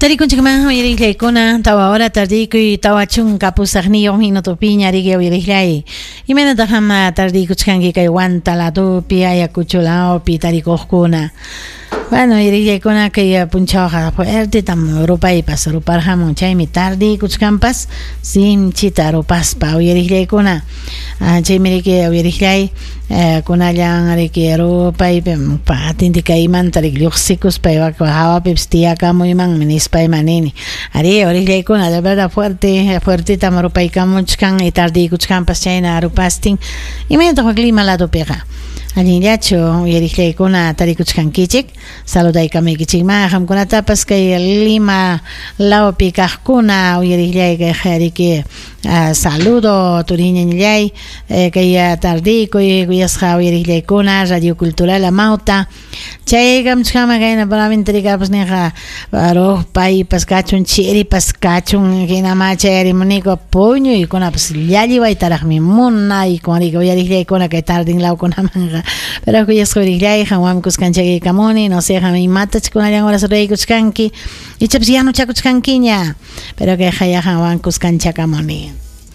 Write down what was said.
Tarikunchikman uyariqllaykuna 4 hora tardiykuy 48 minutopiña riki uyariqllay. Imaynataq qam tardiykuchkanki kay Huanta ladopi, Ayacucho lawpi tarikuqkuna? Bueno, uyariqllaykuna kay punchawqa fuertetam rupaypas ruparqamun, chaymi tardiykuchkanpas sinchita rupaspa uyariqllaykuna. Chaymi riki uyariqllay kunallan riki rupaypi patente kaymanta riki lluqsikuspa hawapipas tiyakamuymanmi nispayman nini. Ari uyariqllaykuna de verdad fuerte fuertetam rupaykamuchkan y tardiykuchkanpas chayna rupastin. Imaynataq clima ladopiqa? Allinllachu uyariqllaykuna tarikuchkankichik? Saludaykamuykichikman qamkunatapas kay Lima lawpi kaqkuna uyariqllay kay riki saludo turiñañallay kay tardiykuy kuyasqa uyariqllaykuna Radio Cultural Amauta. Chaykamuchkanman kayna palamente rikapas ninqa rupaypas kachun chiripas kachun hinama chayarimuniku puñuykunapas llalliwaytaraqmi munaykun riki uyariqllaykuna kay tardin lawkunamanqa. Pero kuyasqa uyariqllay qanwanmi kuskanchaykamuni no sé qam imatach kunallan horas ruraykuchkanki ichapas yanuchakuchkankiña pero kay qanwan kuskanchakamuni.